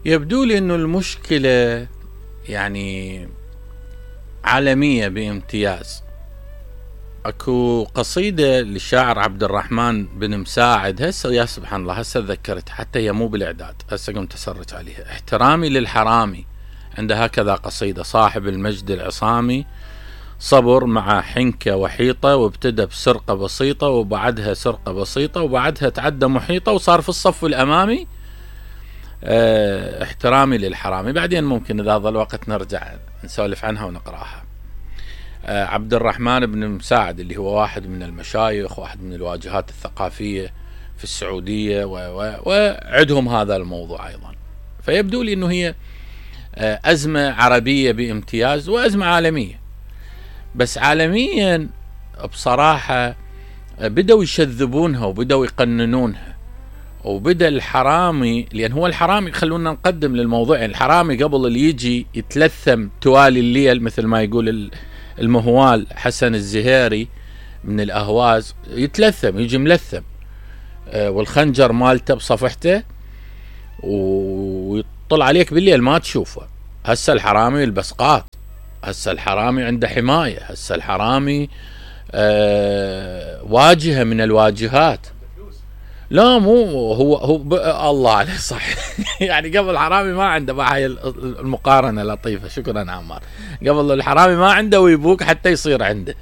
يبدو لي انه المشكلة يعني عالمية بامتياز. اكو قصيدة للشاعر عبد الرحمن بن مساعد، هسه يا سبحان الله هسه تذكرت، حتى هي مو بالاعداد، هسه قمت اسرج عليها. احترامي للحرامي، عنده هكذا قصيدة: صاحب المجد العصامي صبر مع حنكة وحيطة، وابتدى بسرقة بسيطة وبعدها سرقة بسيطة وبعدها تعدى محيطة وصار في الصف الامامي. احترامي للحرامي، بعدين ممكن اذا ظل وقت نرجع نسولف عنها ونقراها. عبد الرحمن بن مساعد اللي هو واحد من المشايخ، واحد من الواجهات الثقافية في السعودية، وعندهم هذا الموضوع ايضا. فيبدو لي انه هي ازمة عربية بامتياز وازمة عالمية. بس عالميا بصراحة بدأوا يشذبونها وبدأوا يقننونها، وبدأ الحرامي، لأن هو الحرامي خلونا نقدم للموضوع، يعني الحرامي قبل اللي يجي يتلثم توالي الليل مثل ما يقول المهوال حسن الزهيري من الأهواز، يتلثم يجي ملثم والخنجر مالته بصفحته ويطلع عليك بالليل ما تشوفه. هسه الحرامي يلبس قات، هسه الحرامي عنده حماية، هسه الحرامي واجهة من الواجهات. لا مو هو الله عليه صح. يعني قبل الحرامي ما عنده، هاي المقارنة لطيفة، شكرا عمار. قبل الحرامي ما عنده ويبوك حتى يصير عنده،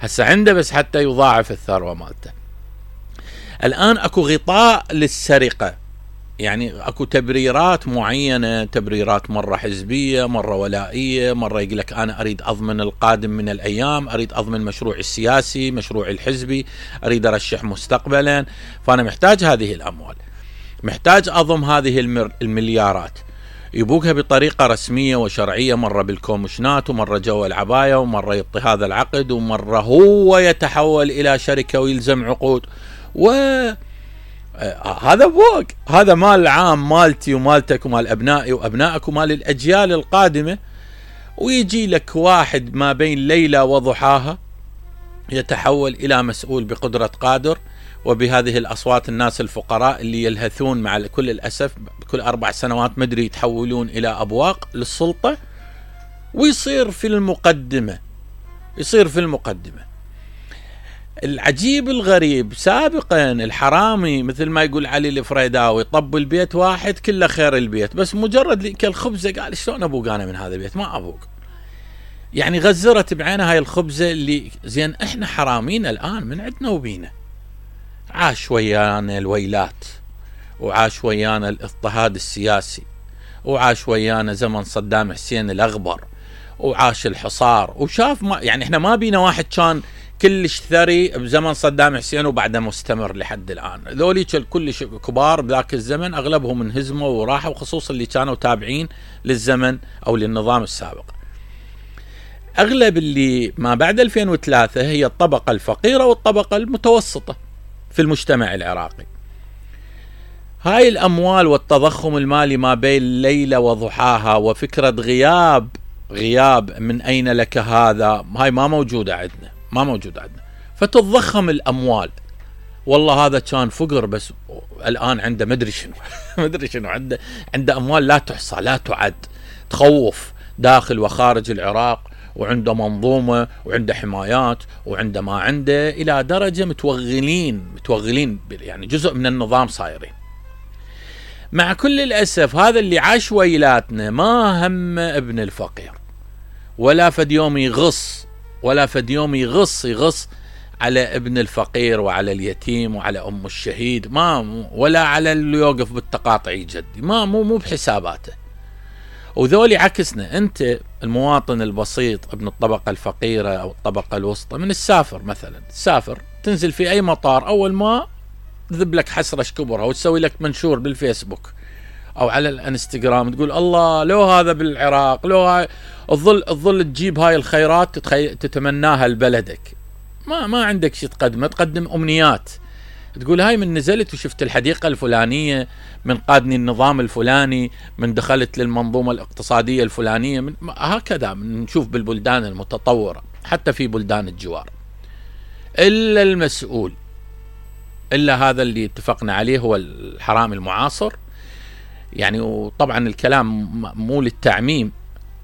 هسه عنده بس حتى يضاعف الثروة مالته. الآن اكو غطاء للسرقة، يعني اكو تبريرات معينة، تبريرات مرة حزبية، مرة ولائية، مرة يقول لك انا اريد اضمن القادم من الايام، اريد اضمن مشروعي السياسي، مشروعي الحزبي، اريد ارشح مستقبلا، فانا محتاج هذه الاموال، محتاج اضم هذه المليارات. يبوكها بطريقة رسمية وشرعية، مرة بالكومشنات، ومرة جوا العباية، ومرة يعطي هذا العقد، ومرة هو يتحول الى شركة ويلزم عقود، هذا فوق، هذا مال عام، مالتي ومالتك ومال أبنائي وأبنائك ومال الأجيال القادمة. ويجي لك واحد ما بين ليلة وضحاها يتحول إلى مسؤول بقدرة قادر، وبهذه الأصوات الناس الفقراء اللي يلهثون مع كل الأسف بكل 4 سنوات مدري يتحولون إلى أبواق للسلطة، ويصير في المقدمة، يصير في المقدمة. العجيب الغريب، سابقا الحرامي مثل ما يقول علي الفريداوي طب البيت واحد كله خير البيت، بس مجرد كالخبزة قال شلون ابوق انا من هذا البيت؟ ما ابوق، يعني غزرت بعينها هاي الخبزة اللي زين. احنا حرامين الان من عندنا وبينا، عاش ويانا الويلات، وعاش ويانا الاضطهاد السياسي، وعاش ويانا زمن صدام حسين الاغبر، وعاش الحصار، وشاف ما يعني احنا ما بينا واحد كان كلش ثري بزمن صدام حسين وبعده مستمر لحد الآن. ذولي كلش كبار بذاك الزمن أغلبهم انهزموا وراحوا، خصوصا اللي كانوا تابعين للزمن أو للنظام السابق. أغلب اللي ما بعد 2003 هي الطبقة الفقيرة والطبقة المتوسطة في المجتمع العراقي. هاي الأموال والتضخم المالي ما بين ليلة وضحاها، وفكرة غياب من أين لك هذا، هاي ما موجودة عندنا، ما موجود عندنا. فتتضخم الأموال، والله هذا كان فقر بس الآن عنده مدري شنو مدري شنو، عنده أموال لا تحصى لا تعد، تخوف داخل وخارج العراق، وعنده منظومة وعنده حمايات وعنده ما عنده، إلى درجة متوغلين يعني جزء من النظام صايرين. مع كل الأسف هذا اللي عاش ويلاتنا ما هم ابن الفقير، ولا فد يوم يغص، ولا فد يوم يغص على ابن الفقير وعلى اليتيم وعلى أم الشهيد، ولا على اللي يوقف بالتقاطع جدي، مو بحساباته. وذولي عكسنا، أنت المواطن البسيط ابن الطبقة الفقيرة أو الطبقة الوسطى، من السافر مثلا، تسافر تنزل في أي مطار، أول ما تذب لك حسرة كبرها وتسوي لك منشور بالفيسبوك أو على الانستغرام، تقول الله لو هذا بالعراق، لو هاي تظل تجيب هاي الخيرات تتمناها لبلدك، ما عندك شيء تقدم أمنيات، تقول هاي من نزلت وشفت الحديقة الفلانية، من قادني النظام الفلاني، من دخلت للمنظومة الاقتصادية الفلانية، هكذا نشوف بالبلدان المتطورة حتى في بلدان الجوار. إلا المسؤول، إلا هذا اللي اتفقنا عليه هو الحرامي المعاصر، يعني وطبعا الكلام مو للتعميم،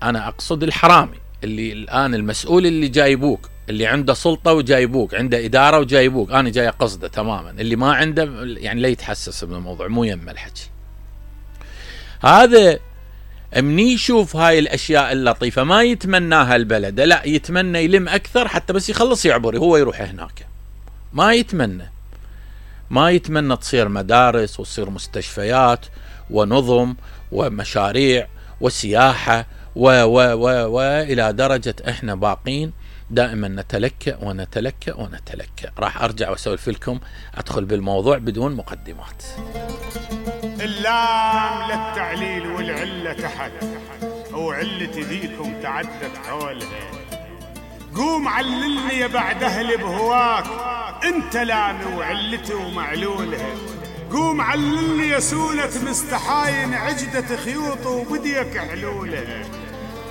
أنا أقصد الحرامي اللي الآن المسؤول اللي جايبوك، اللي عنده سلطة وجايبوك، عنده إدارة وجايبوك، أنا جاي أقصده تماما. اللي ما عنده يعني لا يتحسس من الموضوع، مو يم الحكي هذا. مني يشوف هاي الأشياء اللطيفة ما يتمناها البلد، لا يتمنى يلم أكثر حتى بس يخلص يعبر هو يروح هناك. ما يتمنى تصير مدارس وتصير مستشفيات ونظم ومشاريع وسياحة إلى درجة إحنا باقين دائما نتلكأ ونتلكأ ونتلكأ. راح أرجع وأسولف لكم، أدخل بالموضوع بدون مقدمات. اللام للتعليل والعلة تحت، وعلة ذيكم تعدت حولها. قوم عللني يا بعد أهل بهواك، انت لامي وعلتي ومعلولها. قوم عللني يا سولة مستحاين عجدة خيوط وبديك حلولها.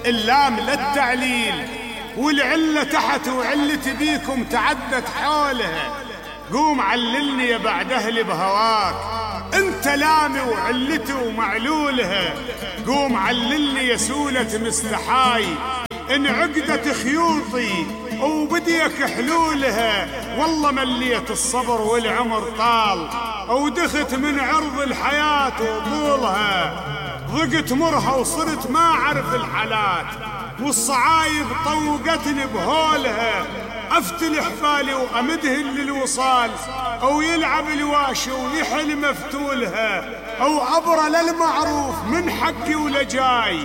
اللام للتعليل والعلة تحت، وعلتي بيكم تعدت حولها. قوم عللني يا بعد أهل بهواك، انت لامي وعلتي ومعلولها. قوم عللني يا سولة مستحاي ان عقدة خيوطي وبديك حلولها. والله مليت الصبر والعمر طال، ودخت من عرض الحياة وطولها. ضقت مرها وصرت ما أعرف الحالات، والصعايب طوقتني بهولها. أفتل حبالي وأمدهن للوصال، أو يلعب الواشي ويحل مفتولها. أو أبرى للمعروف من حقي ولجاي،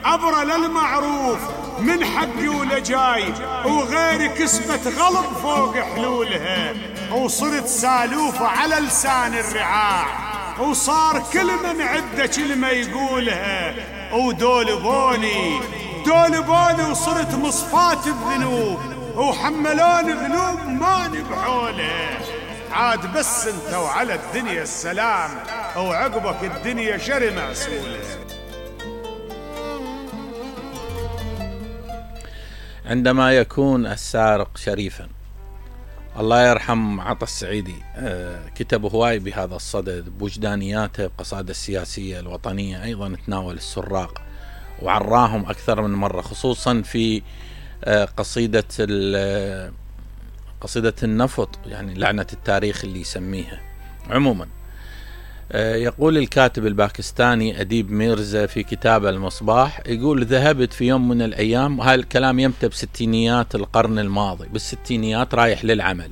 أبرى للمعروف من حقي ولجاي. وغيري كسبت غلب فوق حلولها، وصرت سالوفة على لسان الرعاع. وصار كل من عده كلمة يقولها. ودول بوني وصرت مصفات بذنوب، وحملوني ذنوب ما نبحولها. عاد بس انت وعلى الدنيا السلام، وعقبك الدنيا شر معسولة. عندما يكون السارق شريفا، الله يرحم عطا السعيدي كتب هواي بهذا الصدد بوجدانياته، بقصائده السياسية الوطنية أيضا تناول السراق وعراهم أكثر من مرة، خصوصا في قصيدة النفط، يعني لعنة التاريخ اللي يسميها. عموما يقول الكاتب الباكستاني أديب ميرزا في كتابه المصباح، يقول ذهبت في يوم من الأيام، وهذا الكلام يمتى بستينيات القرن الماضي، بالستينيات رايح للعمل.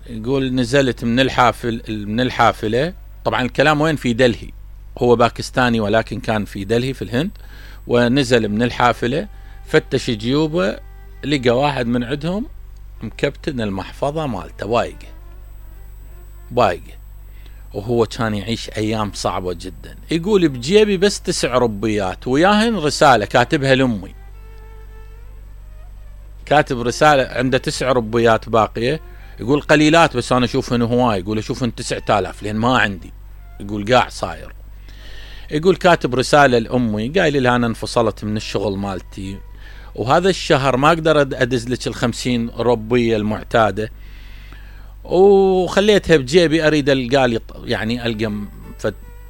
يقول نزلت من الحافلة، طبعا الكلام وين؟ في دلهي، هو باكستاني ولكن كان في دلهي في الهند. ونزل من الحافلة، فتش جيوبه، لقى واحد من عندهم مكبتن المحفظة مالته بايقة، وهو كان يعيش أيام صعبة جدا. يقول بجيبي بس 9 ربيات وياهن رسالة كاتبها لأمي، كاتب رسالة عنده 9 ربيات باقية. يقول قليلات بس أنا أشوفهن هواي، يقول أشوفهن 9000 لأن ما عندي. يقول قاع صاير. يقول كاتب رسالة لأمي قايل لها أنا انفصلت من الشغل مالتي، وهذا الشهر ما أقدر أدز لك 50 ربية المعتادة، وخليتها بجيبي أريد ألقى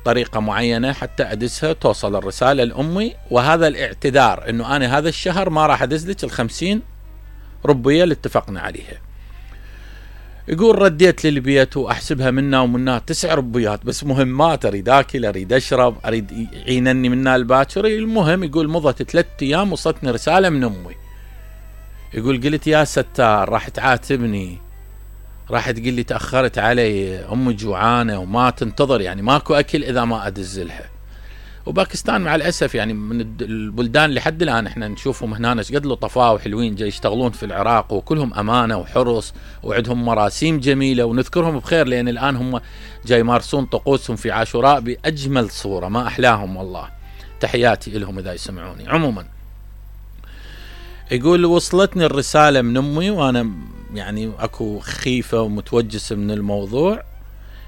طريقة معينة حتى أدزها توصل الرسالة لأمي، وهذا الاعتذار إنه أنا هذا الشهر ما راح أدز لك 50 ربية اللي اتفقنا عليها. يقول رديت للبيت وأحسبها منا ومنها 9 ربيات بس مهمات، أريد أكل، أريد أشرب، أريد يعينني منها الباكر. المهم يقول مضت 3 أيام وصلتني رسالة من أمي. يقول قلت يا ستار راح تعاتبني، راح تقول لي تأخرت علي، أمي جوعانة وما تنتظر، يعني ماكو أكل إذا ما أدزلها. وباكستان مع الأسف يعني من البلدان اللي حد الآن احنا نشوفهم هنا قد لطفاء وحلوين جاي يشتغلون في العراق، وكلهم أمانة وحرص وعندهم مراسيم جميلة ونذكرهم بخير، لأن الآن هم جاي يمارسون طقوسهم في عاشوراء بأجمل صورة، ما أحلاهم والله. تحياتي لهم إذا يسمعوني. عموما يقول وصلتني الرسالة من أمي وأنا يعني أكو خيفة ومتوجس من الموضوع.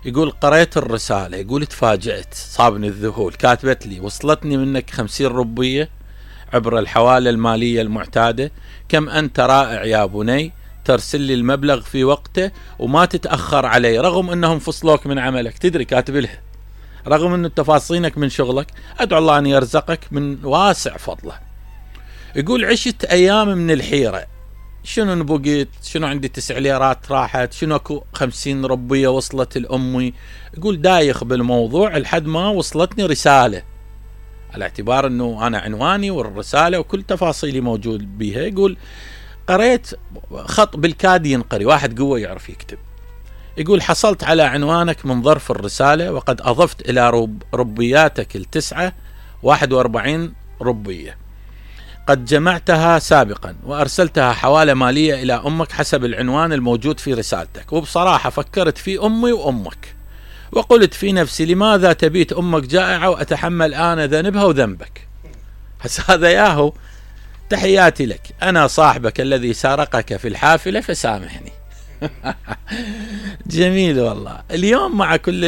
يقول قرأت الرسالة، يقول تفاجأت، صابني الذهول. كاتبت لي وصلتني منك 50 ربية عبر الحوالة المالية المعتادة، كم أنت رائع يا بني، ترسل لي المبلغ في وقته وما تتأخر علي رغم أنهم فصلوك من عملك. تدري كاتب لها رغم أن تفاصيلك من شغلك، أدعو الله أن يرزقك من واسع فضله. يقول عشت أيام من الحيرة، شنو نبقيت، شنو عندي 9 ليرات راحت، شنو اكو 50 ربية وصلت لأمي. يقول دايخ بالموضوع لحد ما وصلتني رسالة، على اعتبار أنه أنا عنواني والرسالة وكل تفاصيلي موجود بيها. يقول قريت خط بالكاد ينقري، واحد قوة يعرف يكتب. يقول حصلت على عنوانك من ظرف الرسالة، وقد أضفت إلى ربياتك التسعة 41 ربية قد جمعتها سابقا، وأرسلتها حوالة مالية إلى أمك حسب العنوان الموجود في رسالتك. وبصراحة فكرت في أمي وأمك، وقلت في نفسي لماذا تبيت أمك جائعة وأتحمل أنا ذنبها وذنبك. بس هذا ياهو، تحياتي لك، أنا صاحبك الذي سارقك في الحافلة فسامحني. جميل والله. اليوم مع كل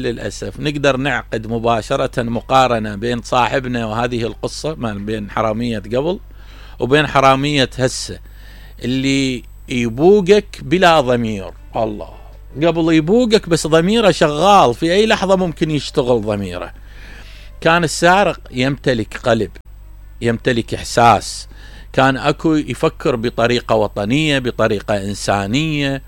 الأسف نقدر نعقد مباشرة مقارنة بين صاحبنا وهذه القصة، بين حرامية قبل وبين حرامية هسه، اللي يبوقك بلا ضمير. الله، قبل يبوقك بس ضميره شغال، في أي لحظة ممكن يشتغل ضميره. كان السارق يمتلك قلب، يمتلك إحساس، كان أكو يفكر بطريقة وطنية، بطريقة إنسانية.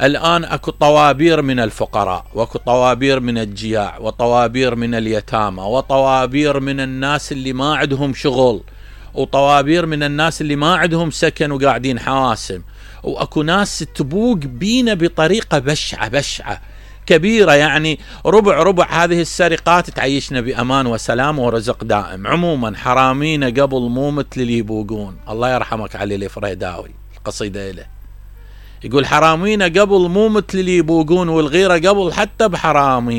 الآن أكو طوابير من الفقراء، وأكو طوابير من الجياع، وطوابير من اليتامى، وطوابير من الناس اللي ما عندهم شغل، وطوابير من الناس اللي ما عندهم سكن وقاعدين حواسم. وأكو ناس تبوق بينا بطريقة بشعة كبيرة، يعني ربع هذه السرقات تعيشنا بأمان وسلام ورزق دائم. عموما حرامينا قبل مو مثل اللي يبوقون. الله يرحمك علي الفريداوي، القصيدة له يقول حرامينا قبل مو مثل اللي يبوقون، والغيرة قبل حتى بحرامين.